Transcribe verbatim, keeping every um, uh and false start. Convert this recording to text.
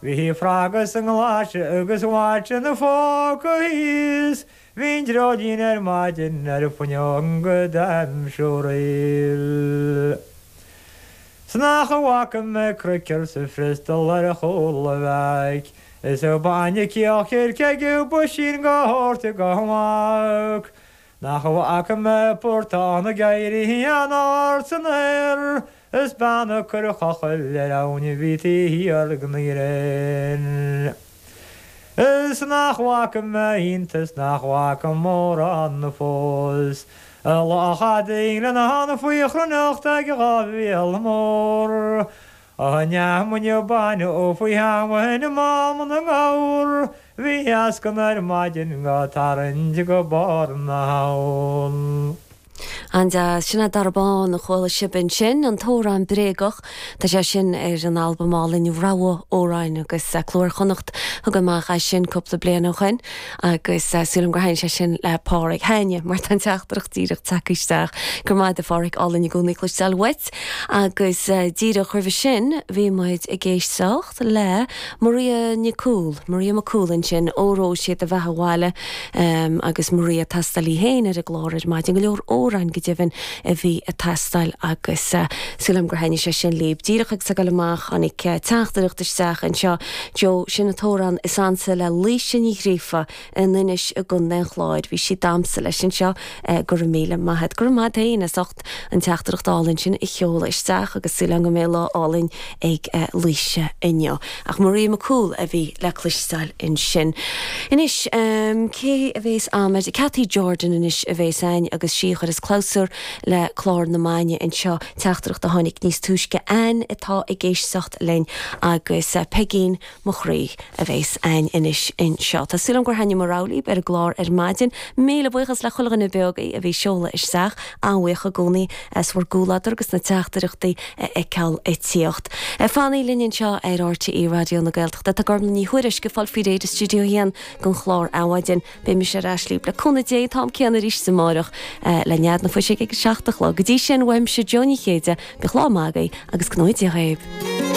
Bhí frog sa nglaise agus watch ina phóca thíos, Bhí an dreoilín ar maidin ar an bhfuinneog go d'aimsiúraíl. 'S nach bhfaca mé craiceall sa Bhristol ar chúl a bhaic, Is a bainne cíoch ag buisín go hórta go mac. Nach bhfaca mé portán ag éirí an-ard san aer, Is bean ag cur cochaill ar abhainn a bhí taobh thiar den ghréin. Is nach bhfaca mé iontas nach bhfaca mórán fós, Luch adain lena hana faoi chruinneacht ag dhá mhíol mór. A neamhaine baine ó faoi sheamhain mám na ngabhar, Bhí eascann ar maidin go tarraingt go barr na habhann. An-deas sin é Dara Bán a chuala sibh ansin an t-amhrán bréagach Tá sé sin ar an albam álainn Rogha Amhrán agus Cló Iar-Chonnacht thug amach é sin cúpla bliain ó shin agus sílim gur thaitin sé sin le Páraic Háine mar tá an teachtaireacht díreach tagtha isteach gur maith a Pháraic álainn i gcónaí cloisteáil uait agus díreach roimhe sin bhí muid ag éisteacht le Maria Nicúl Maria McCool ansin óró sé do bheatha abhaile um, agus Maria ag teastáil í féin ar an gclár ar maidin go leor amhrán go deimhin a bhí ag teastáil agus uh, sílim gur thaitin sé sin libh. Díreach ag dul amach tháinig uh, teachtaireacht isteach anseo Joe sin an t-amhrán is ansa le Laoise Ní Ghríofa in Inis i gContae an Chláir. Bhí sí damsa leis anseo uh, go míle maith gur maith féin as ucht an teachtaireacht álainn sin a sheoladh isteach agus súil go mbeidh lá álainn ag uh, Laoise inniu. Ach Maria McCool a bhí le cloisteáil ansin. Anois um, cé a bhéas agam Cathy Jordan anois a bhéas againn agus sí chuir is clabhsúr le clár na maidine anseo teachtaireacht a tháinig níos túisce Ann atá ag éisteacht linn agus uh, Peigín mo chroí a bhéas againn anois anseo. Tá súil gur thaitin mo rogha libh ar an gclár ar maidin, Míle buíochas le chuile dhuine beag a bhí ag seoladh isteach an-bhuíoch i gcónaí as bhur gcomhluadar agus na teachtaireachtaí a fheiceáil ag tíocht. Fanaigí linn anseo ar RTÉ Raidió na Gaeltachta Tá Gormlaith Ní Thuairisg ag fáil faoi réir i stiúideo a haon don chlár Adhmhaidin beidh mise ar ais libh le cúnamh Dé am céanna arís amárach le nead na fuise ag seacht a chlog. Go dtí sin uaimse Joe Ní Chéide bíodh lá maith agaibh agus go ngnóthaí Dia dhaoibh.